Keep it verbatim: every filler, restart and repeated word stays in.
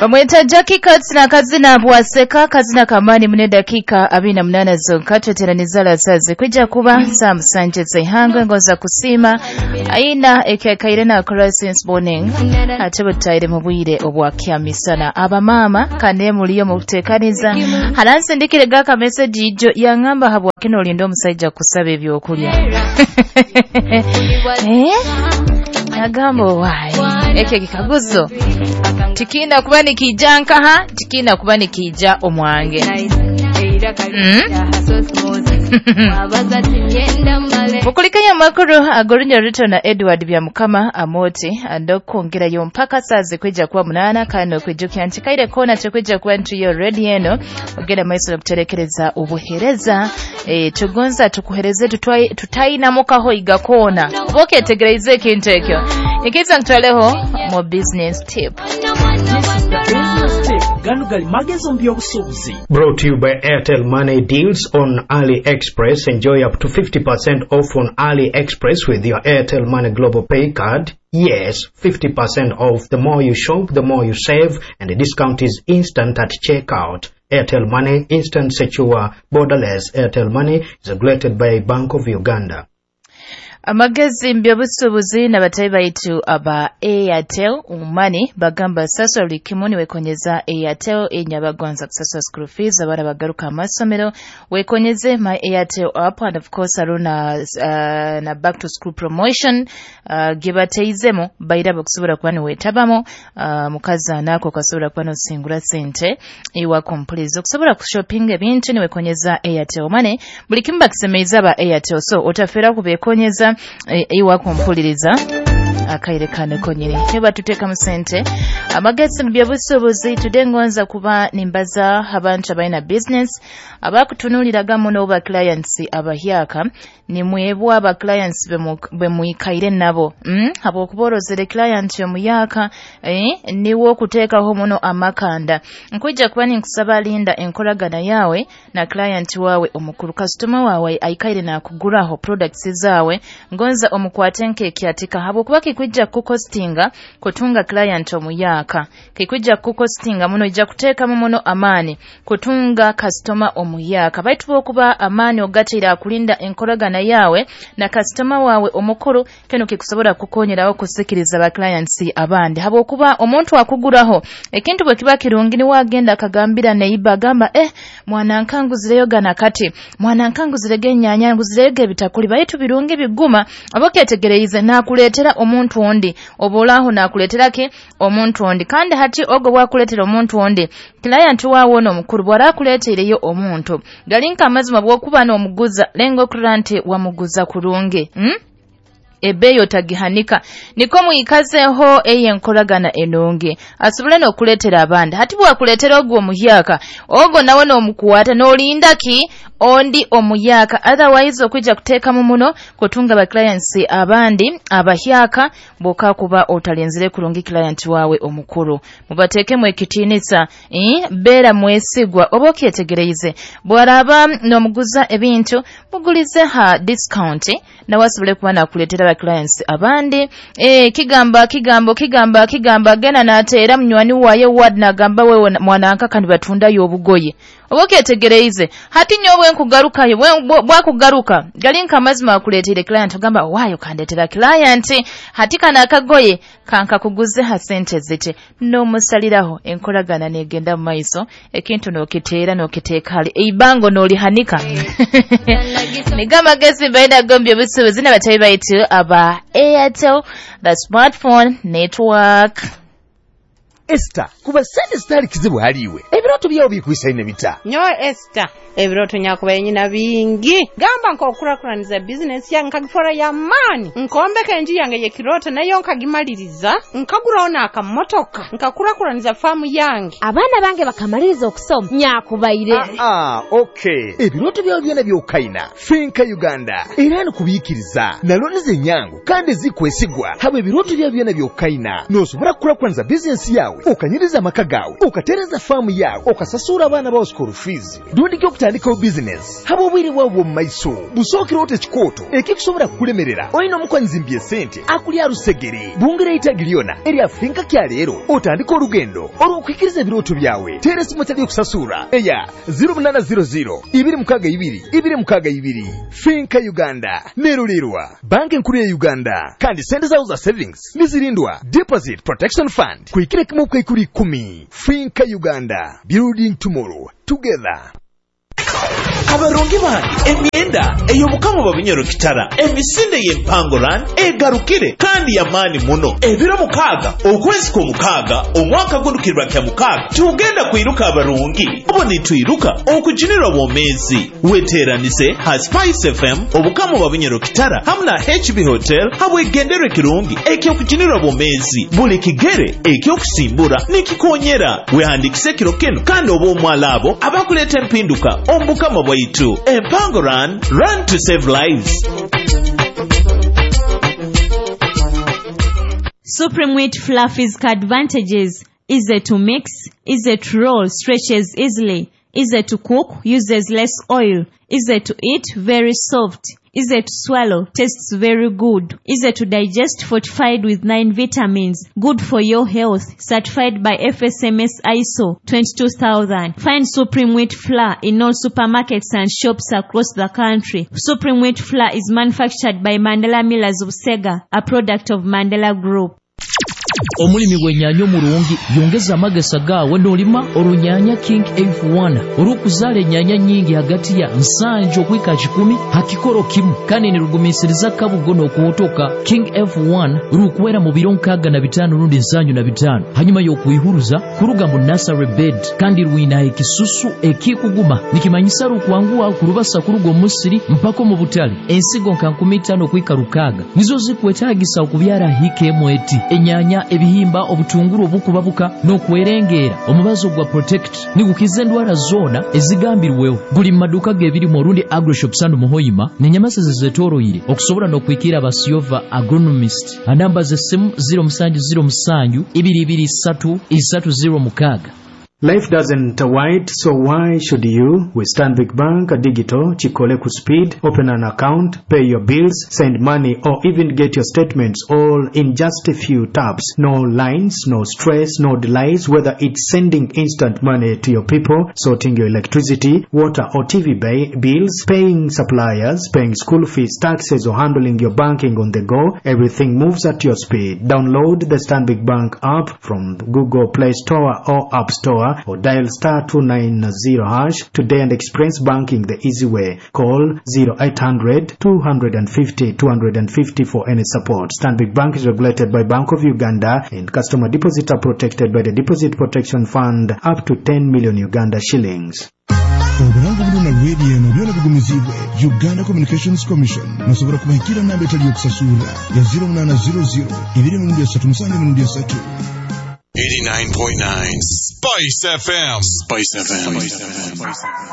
Bamweta Jackie Katz na kazina bwaseka kazina kamani mune dakika abiri na munana zonka tweteraniza lasazi kwijja kuba Sam Sanchez ihangwe ngoza kusima aina ekekaire na akora since morning ate butaire mu bwire obwakyamisana abamama kane muliyo mu kutekaniza haransindikire gaka message ijo yangamba habwa kino olindo omusajja kusaba ebyokulya eh agamba why ekyo kikaguzo tikina kuba nikija nkaha tikina kuba nikija omwange mm? Mukulikanya makuru agorinya Ruto na Edward Byamukama Amoti andokwongerayo mpaka sazi kwijja kuba munana kano kwijukya nti kaire kona tekwijja kuba ntuyo ready eno ogenda maiso okuterekereza obuhereza e, tugonza tukuhereze tutainamukaho igakona oketegereze ekintu ekyo ikiza ntwaleho mu business tip. Gano gali magezo mbyobusuubuzi. Brought to you by Airtel Money deals on AliExpress. Enjoy up to fifty percent off on AliExpress with your Airtel Money Global Pay card. Yes, fifty percent off. The more you shop, the more you save, and the discount is instant at checkout. Airtel Money, instant, secure, borderless. Airtel Money is regulated by Bank of Uganda. Amagezi mbyobusuubuzi n'abatayi baitu aba Airtel Money bagamba sasula buli kimu niwekonyeza Airtel enyabagonza kusasula school fees abaana bagaruka amasomero wekonyeze my Airtel app and of course aruna uh, na back to school promotion uh, gebateizemu baira bakusobola kuba niwetabamo uh, mukazi anako kasobola kuba nosingula sente iwa complete okusobola kushopping ebintu niwekonyeza Airtel Money buli kimu bakisemeiza aba Airtel so otafera kubekonyeza iwa kumpuliriza akaire kane konyere heba tuteka musente amagezi mbyobusuubuzi tudengonza kuba nimbaza abantu abalina business abakutunuliraga muno ba clients abahyaka nimwebwa aba clients bemwikaire nabo mm? habwokuborozere client omuyaka eh, niwo okuteekaho muno amakanda nkwijja kuba ninkusaba linda enkolagana yawe na client wawe omukulu customer wawe aikaire nakuguraho products zawe ngonza omukwate nk'ekyatika habwokuba kikwijja kukostinga kutunga client omuyaka kikwijja kukostinga muno ijja kuteekamu muno amaani kutunga customer omuyaka baitu bokuba amaani ogateera akulinda enkolagana yawe na customer wawe omukulu keno kikusobola kukonyeraho kusikiriza ba clients abandi habwokuba omuntu akuguraho ekintu bwe kiba kirungi ni wagenda akagambira neiba agamba eh mwana nkanguzireyo gana kati mwana nkanguzirege ennyanya nguzirege ebitakuli baitu birungi biguma aboketegereize nakuleetera omuntu ondi obolaho nakuleetera ke omuntu ondi kandi hati ogo bwakuleetera omuntu ondi client wawe ono omukulu bwarakuleetereyo omuntu galinka amazima bwokuba n'omuguza lengo kurante wamuguza kurungi hmm? Ebeyo tagihanika niko muikazeho eye nkolagana enonge asobole n'okuleetera abandi hati bwakuleetera ogwo omuhyaka ogwo nawe n'omukuwata n'olinda ki ondi omuyaka otherwise okwijja kuteekamu muno kutunga ba clients abandi abahyaka boka kuba otalenzere kurungi client wawe omukulu mubateekemu ekitiinisa eh, beera mwesigwa oba okyetegereize bwaraba n'omuguza ebintu mugulize ha discount nawe asobole kuba nakuleetera ba clients abandi eh, kigamba kigambo kigamba kigamba gena nateera munywani waye ward nagamba wewe mwananka kandi batundayo obugoye oba okyetegereize hati nyowe nkugarukayo bwakugaruka galinka amazima akuleeteire client ogamba waayo kandeetera client hati kano akagoye kankakuguze ha sente zite n'omusaliraho enkolagana negenda mu maiso ekintu n'okiteera n'okiteeka hali eibango n'olihanika nigo amagezi mbaine gombya obusuubuzi n'abatayi baitu aba Airtel the smartphone network. Esther, kuba sente zitali kizibu haliwe ebirooto byawo bikwisaine bita nyowe Esther ebirooto nyakubaye nyina bingi gamba nk'okukurakuraniza bizinesi yange nkagifora y'amaani nkombeka enju yange y'ekirooto nayo nkagimaliriza nkaguraho n'akamotoka nkakurakuraniza faamu yange abaana bange bakamaliriza okusoma nyakubaire ah, ah, okay ebirooto byawe byona byokaina Finka Uganda era nikubiikiriza naloniza enyangu kandi zikwesigwa haba ebirooto byawe byona byokaina n'osobola kukurakuraniza bizinesi yawe okanyiriza amaka gawe okatereza faamu yawe yawe okasasura abaana bawe school fees rundi okutandikawo bizinesi haba obwire bwawe bw'omu maiso busookera ota ekikooto ekikusobola kukulemerera olina omukonzi mbye sente akulya rusegere bungera itagi lyona erya finka kya leero otandika olugendo olw'okuhikiriza ebirooto byawe teera esimu etali okusasura eya zero munana zero zero ibiri mukaaga ibiri ibiri mukaaga ibiri. Finka Uganda nerulirwa banki enkuru ya Uganda kandi sente zawo za savings nizirindwa Deposit Protection Fund kuhikira kimu kaikuri kumi. Finka Uganda, building tomorrow together. Abarungi bange emyenda ey'obukama bwa Bunyoro Kitara emisinde y'empangoran egarukire kandi yamaani muno ebiro mukaaga okwezi kw'omukaaga omwaka gundukirwa kya mukaaga tugenda kwiruka abarungi obo nitwiruka okujunirwa bwomeezi weteeranise ha Spice F M obukama bwa Bunyoro Kitara hamu na H B Hotel habwegenderwe kirungi ekyokujunirwa bwomeezi buli kigere ekyokusimbura nikikonyera wehandikise ekiro kino kandi oba omwala abo abakuleeta empinduka ombukama bwaitu. Empango Run, run to save lives. Supreme Wheat Fluffy's advantages: easy to mix, easy to roll, stretches easily, easy to cook, uses less oil, easy to eat, very soft, easy to swallow, tastes very good, easy to digest, fortified with nine vitamins, good for your health, certified by F S M S I S O twenty-two thousand. Find Supreme Wheat Flour in all supermarkets and shops across the country. Supreme Wheat Flour is manufactured by Mandela Millers of Sega, a product of Mandela Group. Omulimi w'ennyaanya omulungi yongeza amagesa gaawe n'olima olunyaanya King F one olw'okuzaala ennyaanya nnyingi hagati ya nsanju okwika kikumi hakikoro kimu kandi nirugumiisiriza kabugo n'okuwotoka. King F one rukwera mu biro nkaaga na bitaano rundi nsanju na bitaano hanyuma y'okwihuruza kuruga mu nursery bed kandi rwina ekisusu ekikuguma nikimanyisa rukwanguwa kurubasa kuruga omusiri mpaka mu butale. Ensigo nka nkumi itaano okwika rukaaga nizo zikwetaagisa okubyara hika emweti enyaanya ebihimba obutunguru obukubabuka n'okwerengeera. Omubazo gwa Protect nigukiza endwara zona ezigambirweho guli mu maduuka g'ebirimu orundi agroshop sanu muhoyima n'enyamasa zezetoroire okusobola n'okwikira abasiyova agronomist. Anamba z'essimu zero musanju zero musanju ibiri ibiri isatu isatu zero mukaaga. Life doesn't wait, so why should you? With Stanbic Bank Digital, Chikole Speed, open an account, pay your bills, send money, or even get your statements all in just a few taps. No lines, no stress, no delays, whether it's sending instant money to your people, sorting your electricity, water or T V bills, paying suppliers, paying school fees, taxes, or handling your banking on the go, everything moves at your speed. Download the Stanbic Bank app from Google Play Store or App Store, or dial star two nine zero hash today and experience banking the easy way. Call zero eight hundred two hundred fifty two hundred fifty for any support. Stanbic Bank is regulated by Bank of Uganda and customer deposits are protected by the Deposit Protection Fund up to ten million Uganda shillings. Obulango buno na radio eno byona bigumizibwe Uganda Communications Commission nosobola kubahikira namba etali yokusasula ya zero munana zero zero ibiri mirundi esatu musanju mirundi esatu. eighty-nine point nine Spice F M. Spice F M. Spice F M.